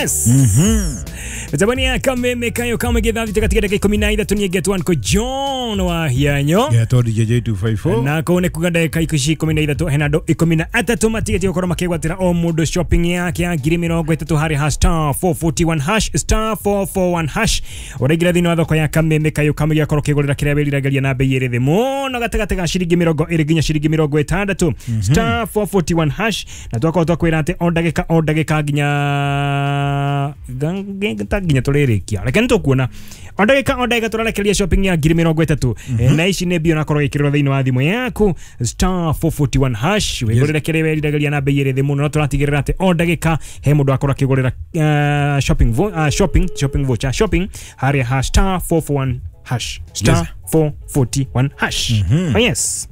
Yes. Tabania kameme kayo kama githathi katika dakika 13 ni get one ko John wa hianyo. Getwo DJ 254. Na ko ne kuga dakika 13 hena ndo 13 matigeti gũkorwo makĩgwatĩra o mũndũ shopping yake ya 30,000 harĩ hash star 441 hash star 441 hash. Ũraingĩra thĩinĩ wa thoko ya kameme kayo kama gĩakorwo kĩgũrĩra kĩrĩa wĩriragĩria na bei ĩrĩ thĩ mũno gatagatĩ ga ciringi 20 nginya ciringi 60 star 441 hash. Na twakorwo twakwĩra atĩ o ndagĩka nginya nginya tũrĩrĩkia reke nĩtũkuona o ndagĩka tũrarekereria shopping ya 30,000. Na ici nĩ mbia ũrakorwo gĩkĩrĩrwo thĩinĩ wa thimũ yaku star 441 hash wĩgũrĩre kĩrĩa wĩriragĩria na bei ĩrĩ thĩ mũno na tũratigĩrĩra atĩ o ndagĩka he mũndũ akorwo akĩgũrĩra shopping voucher shopping harĩa hash star 441 hash star 441 hash. Oh yes.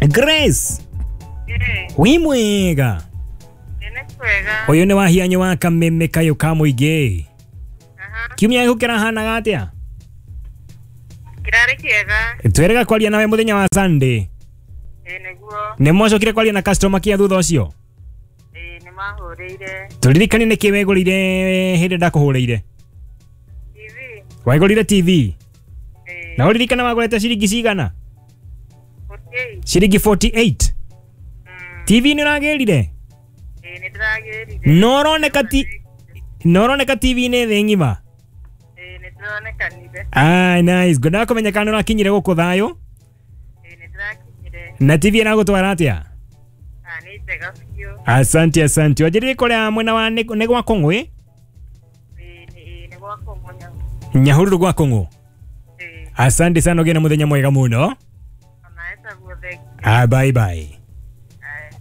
Grace. Wĩ mwega. Ũyũ nĩ wahianyo wa kameme kayo ka mũingĩ. Kiumia gĩkũ kĩrahanaga atĩa? Kĩrarĩ kĩega. Twerega kwaria nawe mũthenya wa Sunday. Ĩĩ nĩguo. Nĩ mwacokire kwaria na customer care thutha ũcio? Ĩĩ nĩ mahũrĩire. Tũririkane nĩkĩ wegũrĩire hĩndĩ ndakũhũrĩire? TV. Wegũrĩire TV? Ĩĩ. Na ũririkana wagũrĩte ciringi cigana? 48. Ciringi 48. TV nĩ ũragĩrire? Ĩĩ nĩ ndĩragĩrire. No ũroneka TV nĩ thĩ ng'ima? Ĩĩ nĩ ndĩronekanire. Ah, nice. Ngwendaga kũmenya kana nĩ ũrakinyire gũkũ thayũ? Ĩĩ nĩ ndĩrakinyire. Na TV ĩragũtwara atĩa? Ah, nĩ njega biũ. Asante, asante. Wanjĩrire kũrĩa mwena wa nĩ gwa Kong'ũ ĩ? Ĩĩ nĩ gwa Kong'ũ. Nyahururu gwa Kong'ũ. Ĩĩ. Asante sana, ũgĩe na mũthenya mwega mũno. Onawe taguo, thengiũ. Ah, bye bye.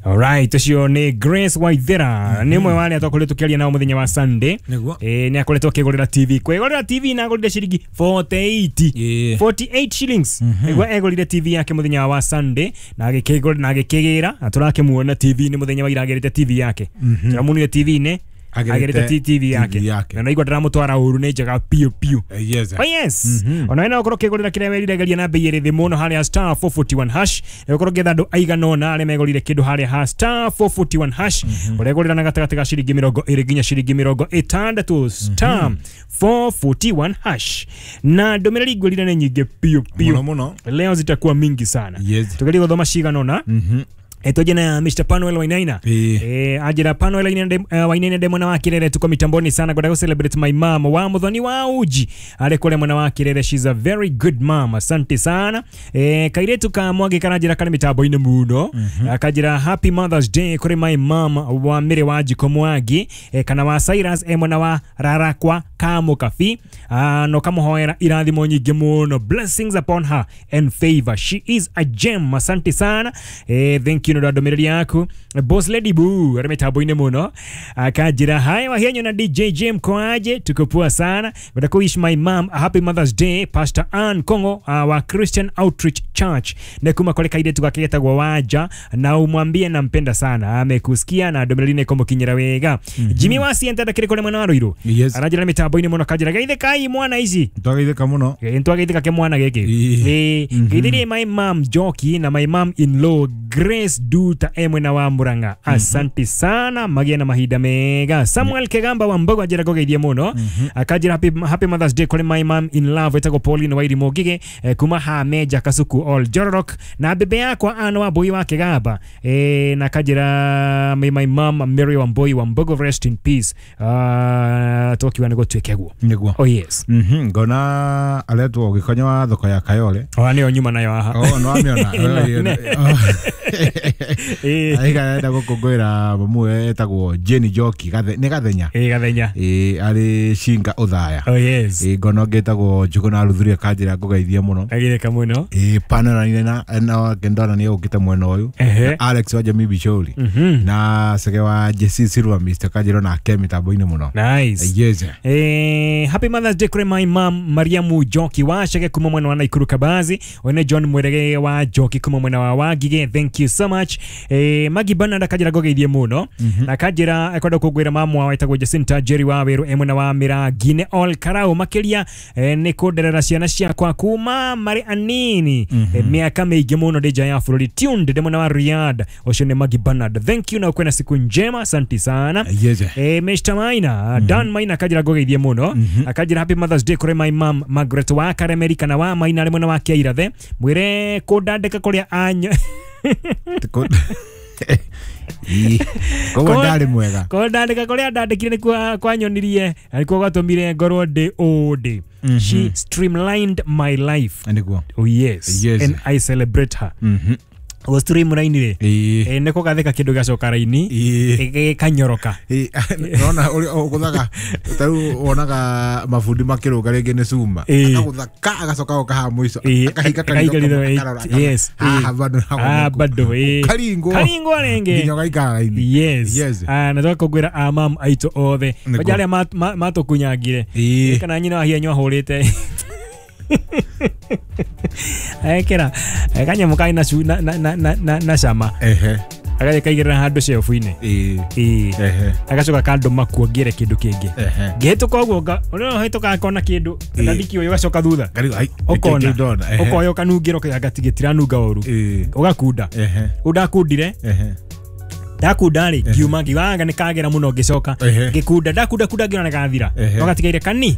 Alright, ũcio nĩ Grace Waithera. Nĩ ũmwe wa arĩa twakoretwo tũkĩaria nao mũthenya wa Sunday. Nĩguo. Nĩ akoretwo akĩgũrĩra TV. Kwĩgũrĩra TV na agũrire ciringi 48. Ĩĩ. 48 shillings. Nĩguo egũrire TV yake mũthenya wa Sunday na agĩkĩgũra na agĩkĩgĩra na tũrakĩmuona TV-inĩ mũthenya wa ira agĩrĩte TV yake. Tũramuonire TV-inĩ agĩrĩte TV yake. Na naigua ndĩramũtwara ũru nĩ njega piũ piũ. Yes. Oh yes. Ona wena ũkorwo ũkĩgũrĩra kĩrĩa wĩriragĩria na bei ĩrĩ thĩ mũno harĩa star 441 hash. Ũkorwo ũgĩetha andũ aigana ũna arĩa megũrire kĩndũ harĩa ha star 441 hash. Ũregũrĩra na gatagatĩ ga ciringi 20 nginya ciringi 60 star 441 hash. Na ndũmĩrĩri ngũrire nĩ nyingĩ piũ piũ. Mũno mũno. Leo zitakuwa mingi sana. Yes. Tugerie gũthoma cigana ũna. Etoje na Mr. Panuel Wainaina. Ajira Panuel Wainaina ndemo na wakirere tuko mitamboni sana kwenda ku celebrate my mom wa muthoni wa uji ale kule mwana wa kirere, she's a very good mom. Asante sana. Kairetu ka mwage karajira kale mitambo-inĩ muno. Akajira happy Mother's Day kuri my mom wa Mire wa Jiko Mwagi kana wa Cyrus mwana wa Rarakwa Kamukafi no kamuhoera irathimo nyingĩ muno, blessings upon her and favor, she is a gem. Asante sana. Thank you ndũmĩrĩri yaku. Boss Lady Boo ari mitambo-inĩ mũno akajira hi wahianyo na DJ Jim koaje, tuko poa sana. Nataka wish my mom a happy Mother's Day, Pastor Ann Kongo wa Christian Outreach Church ne kuma kole kairetu gake getagwo Wanja na umwambie nampenda sana, amekusikia na ndũmĩrĩri nĩ kũmũkinyĩra wega. Jimmy wa Sienta ndakĩrĩ kũrĩ mwena wa Ruiru. Yes. Aranjĩra mitambo-inĩ mũno kanjĩra geithĩkai mwana ici. Twageithĩka mũno. Ntwageithĩka ke mwana gĩkĩ. Geithĩrie my mom Joki na my mom in law Grace Duta mwena wa Murang'a. Asante sana, magie na mahinda mega. Samuel Kegamba wa Mbogo anjĩra ngũgeithie mũno. Akanjĩra happy Mother's Day kũrĩ my mom in love etagwo Pauline Wairimu Ngige kuma Hameja Kasuku All Jororok na bebe yakwa Ann wa Mbui wa Kegamba na akanjĩra may my mom Mary Wambui wa Mbogo rest in peace. Twakiuga nĩguo tuĩke guo. Nĩguo. Oh yes. Ngona aretwo gĩkonyo wa thoko ya Kayole. Oh nĩyo nyuma nayo haha. Oh no amĩona. Aiga arenda gũkũngũĩra mamu etagwo Jane Njoki nĩ Gathenya. Ĩĩ Gathenya. Ĩĩ arĩ Shinga Ũthaya. Oh yes. Ĩĩ ngona ũngĩ etagwo Njũgũna Ruthuria kanjĩra ngũgeithie mũno. Agĩrĩka mũno. Ĩĩ Panora na ndona nĩ ũkĩte mwena ũyũ. Alex wa Jamii Bichori. Na Sege wa Jesse Silva Mr. kanjĩra nake mĩtambo-inĩ mũno. Nice. Yes. Happy Mother's Day kũrĩ my mom Mariamu Njoki wa Chege kuma mwena wa Nakuru Kabazi. One John Mwerege wa Njoki kuma mwena wa Wangige. Thank you so much. much. Magi Bernard akanjĩra ngũgeithie mũno na akanjĩra ekwenda kũngwĩra mamwa wetagwo Jacinta Jerry wa Wĩrũ e mwena wa Mĩrangi nĩ all karau makĩria nĩ kũnderera ciana ciakwa kuma marĩ anini miaka mĩingĩ mũno ndĩ nja ya bũrũri tuned ndĩ mwena wa Riyadh. Ũcio nĩ Magi Bernard, thank you na ũkwena siku njema, asante sana. Yes. Mr. Maina Dan Maina akanjĩra ngũgeithie mũno akanjĩra happy Mother's Day kũrĩ my mom Margaret wa Karemeri kana wa Maina arĩ mwena wa Kĩairathe mwĩre kũndandĩka kũrĩa anyo koguo ndarĩ mwega kũndandĩka kũrĩa ndandĩkire nĩkuo kwanyonirie na nĩkuo gwatũmire ngorwo ndĩ ũũ ndĩ. She streamlined my life. Nĩguo. Oh yes. Yes. And I celebrate her. O streamline rĩ nĩ kũgathĩka kĩndũ gĩgacoka raini gĩkanyoroka. Nona ũrĩa ũgũthaga ta rĩu wonaga mabundi makĩrũga rĩngĩ nĩ cuma akagũtha agacoka goka haha mũico akahinga karitho. Yes. Haha bado bado karingwo karingwo rĩngĩ nginya ũgaikara raini. Yes. Na tũgakũngũĩra amam aitũ othe kwanja arĩa matũkunyangire kana nyina wa hianyũ ahũrĩte ekera kanyamũ karĩ na cama agathiĩ kaigĩrĩra handũ shelf-inĩ agacoka kandũma kuo ngĩre kĩndũ kĩngĩ ngĩhĩtũka ũguo ũrĩa ũhĩtũkaga akona kĩndũ ngandikio ũgacoka thutha ũkona ũkoya ũkanungĩra ũkaiga gĩtiranunga ũru ũgakunda rĩu ndakundire ndakunda rĩ ngiuma ngiuga nĩ kagera mũno ngĩcoka ngĩkunda ndakunda kunda ngĩona nĩgathira no gatigaire kani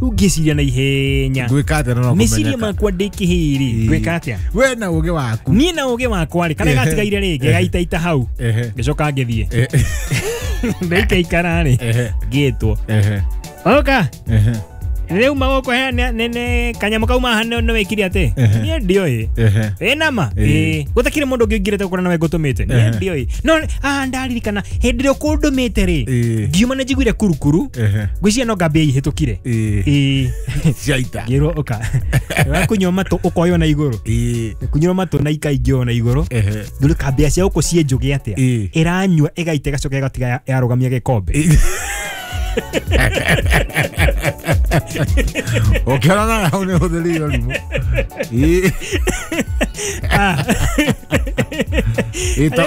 rĩu ngĩciria na ihenya ngwĩka atĩa no meciria makwa ndĩ kĩhĩrĩ ngwĩka atĩa we na ũgĩ waku niĩ na ũgĩ wakwa rĩ karĩa gatigaire rĩ ngĩgaitaita hau ngĩcoka ngĩthiĩ ndaikaikara rĩ ngĩtwo oka rĩu magũkũ nĩ kanyamũ kauma haha nĩ wĩkire atĩ niĩ ndiũĩ ĩ nama gũtakĩrĩ mũndũ ũngĩ ũingĩrĩte gũkora nawe ngũtũmĩte niĩ ndiũĩ no ndaririkana hĩndĩ ĩrĩa ũkũndũmĩte rĩ ngiuma nĩ njiguire kurukuru ngwĩciria no ngambia ihĩtũkire ciaita ngĩrwo ũka wakunyua matũ ũkoywo na igũrũ kunyua matũ na ikaingĩo na igũrũ ndũrĩ kambia cia gũkũ ciĩ njũgĩ atĩa ĩranyua ĩgaita ĩgacoka ĩgatiga yarũgamia gĩkombe. Ũkĩona hau nĩ ũhũthĩrire ũrimũ.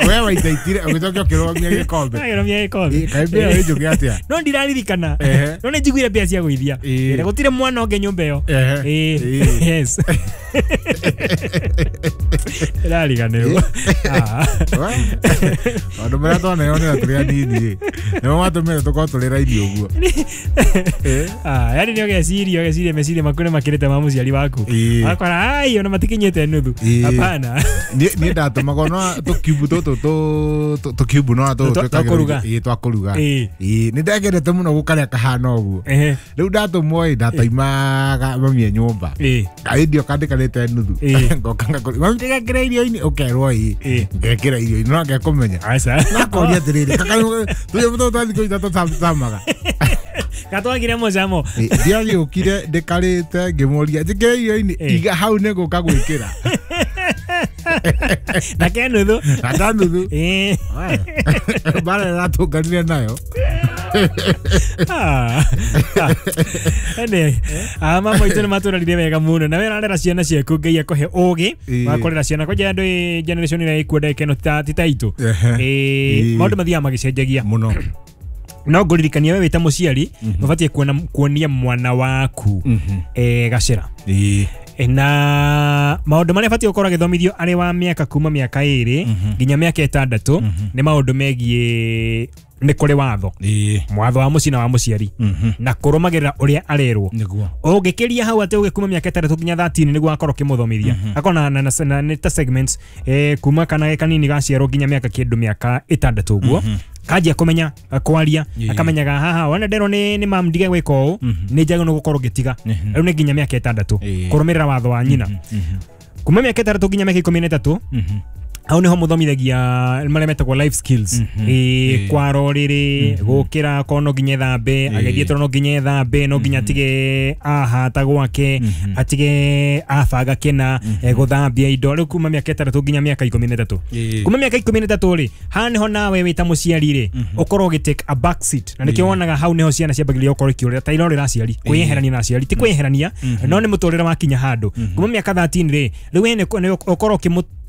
We waitaitire ũgĩcoka ũkĩrũgamia gĩkombe. Agĩrũgamia gĩkombe. Kaĩ mbĩa ĩ njũgĩ atĩa? No ndiraririkana. No nĩ njiguire mbĩa cia gũithia. Na gũtirĩ mwana ũngĩ nyũmba ĩyo. Yes. Ndĩrariganĩrwo. Maũndũ marĩa twaneyonera tũrĩ anini nĩmo matũmire tũkorwo tũrĩ raini ũguo. Yani nĩ ũgeciria meciria maku nĩ makĩrĩte ma mũciari waku. Akora ai ona matikinyĩte nuthu. Hapana. Niĩ ndatũmagwo no tũkiubu tũtũ tũkiubu no twa twa kũruga. Nĩ ndagendete mũno gũkarĩa kahana ũguo. Rĩu ndatũmwo ĩ ndataimaga mami e nyũmba. Kaindio kandĩkanĩte nuthu. Ngoka ngakũria mami ndĩgekĩra irio-inĩ ũkerwo ĩ ngekĩra irio-inĩ no ngekũmenya. Nakoria atĩrĩrĩ tũnyamũ tũtũ twa thikũ ithatũ tamaga. Gatwagire mũcamo. Ndiagĩũkire ndĩkarĩte ngĩmũria njĩkĩre irio-inĩ iga hau nĩ ngũka gwĩkĩra. Na ke nuthu. Na ta nuthu. Bara ĩratũnganire nayo. Ene mama itũ nĩ matũrarire wega mũno na we ũrarera ciana ciaku Ngai akũhe ũgĩ wa kũrera ciana kwanja andũ generation ĩrĩa ĩkuo ndagĩka ĩno ti ta itũ. Maũndũ mathiaga magĩcenjagia mũno. No ngũririkania we wĩ ta mũciari ũbatiĩ kuonia mwana waku gacĩra na maũndũ marĩa abatiĩ gũkorwo agĩthomithio arĩ wa mĩaka kuma mĩaka 2 nginya mĩaka 6 nĩ maũndũ megiĩ nĩ kũrĩ watho mwatho wa mũciĩ na wa mũciari na kũrũmagĩrĩra ũrĩa arerwo ũngĩkĩria hau atĩ ũgĩkuma mĩaka 6 nginya 13 nĩguo akorwo ũkĩmũthomithia akorwo na nĩ ta segments kuma kana kanini gaciarwo nginya mĩaka kĩndũ mĩaka 6 ũguo kanjia kũmenya kwaria akamenyaga haha wana nderwo nĩ mam ndige gwĩka ũũ nĩ njagĩrĩirwo gũkorwo ngĩtiga rĩu nĩ nginya mĩaka 6 kũrũmĩrĩra watho wa nyina kuma mĩaka 6 nginya mĩaka 13 hau niho muthomithagia maria metagwo life skills kwara ũrĩrĩ gũkĩra korwo no nginya ethambe agĩthiĩ toro no nginya ethambe no nginya atige ahata gwake atige abanga kĩna gũthambia indo rĩu kuma mĩaka 6 nginya mĩaka 13 kuma mĩaka 13 rĩ haha niho nawe wĩ ta mũciari rĩ ũkorwo ũgĩ take a back seat na nĩkĩo wonaga hau niho ciana ciambagĩrĩria gũkorwo ikĩũrĩra ta irorĩra aciari kwĩyeherania na aciari ti kwĩyeherania no nĩ mũtũrĩre wakinya handũ kuma mĩaka 13 rĩ rĩu we nĩ ũkorwo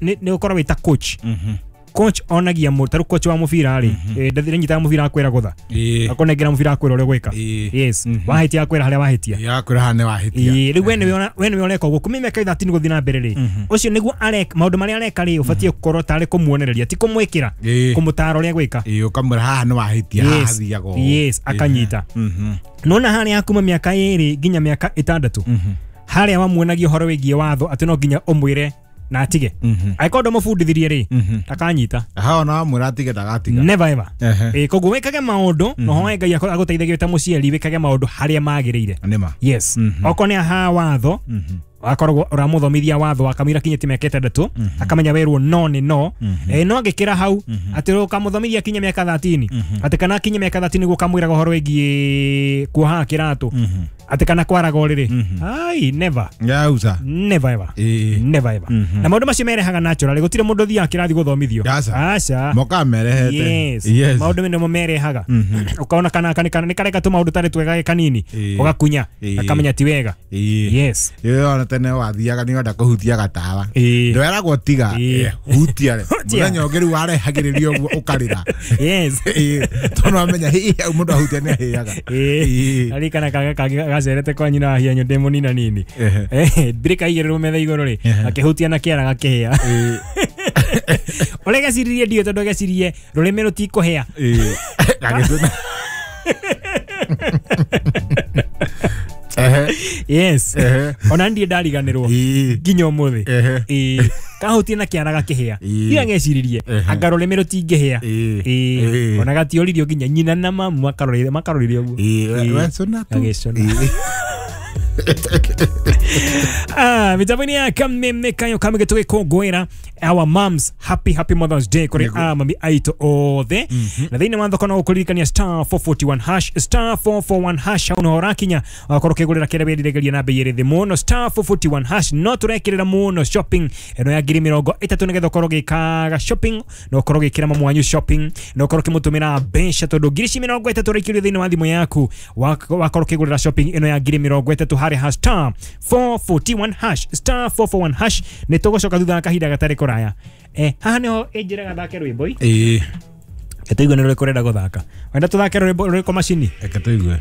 nĩ ũkorwo wĩ ta coach Coach onagia mũtaru coach wa mũbira rĩ, ndathire mũbira akwĩra gũtha, akonengera mũbira akwĩra ũrĩa gwĩka. Yes, wahĩtia akwĩra harĩa wahĩtia, yakwĩra haha nĩ wahĩtia. Rĩu we nĩwe ũreka ũguo kuma mĩaka 13 gũthiĩ na mbere rĩ, ũcio nĩguo areka maũndũ marĩa areka rĩ, ũbatiĩ gũkorwo tarĩ kũmuonereria, ti kũmwĩkĩra, kũmũtaara ũrĩa gwĩka. Ũkamwĩra haha nĩ wahĩtia, haha hathiaga ũũ. Yes, akanyita. Nona harĩa kuma mĩaka 2 nginya mĩaka 6 harĩa wamuonagia ũhoro wĩgiĩ watho atĩ no nginya ũmwĩre na atige. Angĩkorwo ndũmũbundithirie rĩ, ndakanyita. Haha ona wamwĩra atige ndagatiga. Never ever. Koguo wĩkage maũndũ na ũhoe Ngai agũteithagie wĩ ta mũciari, wĩkage maũndũ harĩa magĩrĩire. Nĩma. Yes. Okorwo nĩ haha watho, akoragwo ũramũthomithia watho akamwĩra kinyĩte mĩaka 6, akamenya werwo no nĩ no. No angĩkĩra hau atĩ ũkamũthomithia kinya mĩaka 13, atĩ kana kinya mĩaka 13 nĩguo ũkamwĩraga ũhoro wĩgiĩ kuohaga kĩratũ, atĩ kana kwaraga ũrĩrĩ. Ai, never. Yauza. Never ever. Never ever. Na maũndũ macio merehaga naturally, gũtirĩ mũndũ ũthiaga kĩrathi gũthomithio. Aca. Mokaga merehete. Yes. Maũndũ nĩmo merehaga. Ũkaona kana nĩ kareka tũmaũndũ tarĩ twega kanini, ũgakunya, akamenya ti wega. Yes. Ona tene wathiaga nĩ wenda kũhutia gatawa, ndweragwo tiga, hutia rĩ. Mũthenya ũngĩ rĩu warehagĩrĩria ũguo ũkarĩra. Yes. Tondũ wamenya hihi mũndũ ahutia nĩ ahĩaga. Aririkana kaga kangĩ gacerete kwa nyina wa hianyo ndĩ mũnina nini, mbirika igĩrĩrwo metha igũrũ rĩ, akĩhutia na kĩara gakĩhĩa. Ũrĩa geciririe ndiũĩ tondũ gecirie rũrĩmĩ rũtikũhĩa. Yes. Ona ndiĩ ndariganĩrwo nginya ũmũthĩ. Kahutie na kĩara gakĩhĩa. Ira ngeciririe anga rũrĩmĩ rũtingĩhĩa. Ona gatioririo nginya nyina na mamu makarorire ũguo. Agĩcũna. Mitambo-inĩ ya Kameme Kayo Kameme tũgĩkũngũĩra our moms, happy happy Mother's Day kũrĩ mami aitũ othe. Na thĩinĩ wa thoko no gũkũririkania star 441 hash, star 441 hash, hau no ũrakinya wakorwo ũkĩgũrĩra kĩrĩa wĩriragĩria na bei ĩrĩ thĩ mũno. Star 441 hash no tũrekĩrĩra mũno shopping ĩno ya 30,000 nĩgetha ũkorwo ũgĩkaga shopping, na ũkorwo ũgĩkĩra mamu wanyu shopping, na ũkorwo ũkĩmũtũmĩra mbeca tondũ 30,000 ũraikĩrio thĩinĩ wa thimũ yaku, wakorwo ũkĩgũrĩra shopping ĩno ya 30,000 harĩ ha star 441 hash, star 441 hash. Nĩ tũgũcoka thutha wa kahinda gatarĩ kũraya. Haha nĩho ĩnjĩraga thake rwĩmbo. Tũigue nĩ rũrĩkũ ũrenda gũthaka. Wenda tũthake rwĩmbo rũrĩkũ macini? Reke tũigue.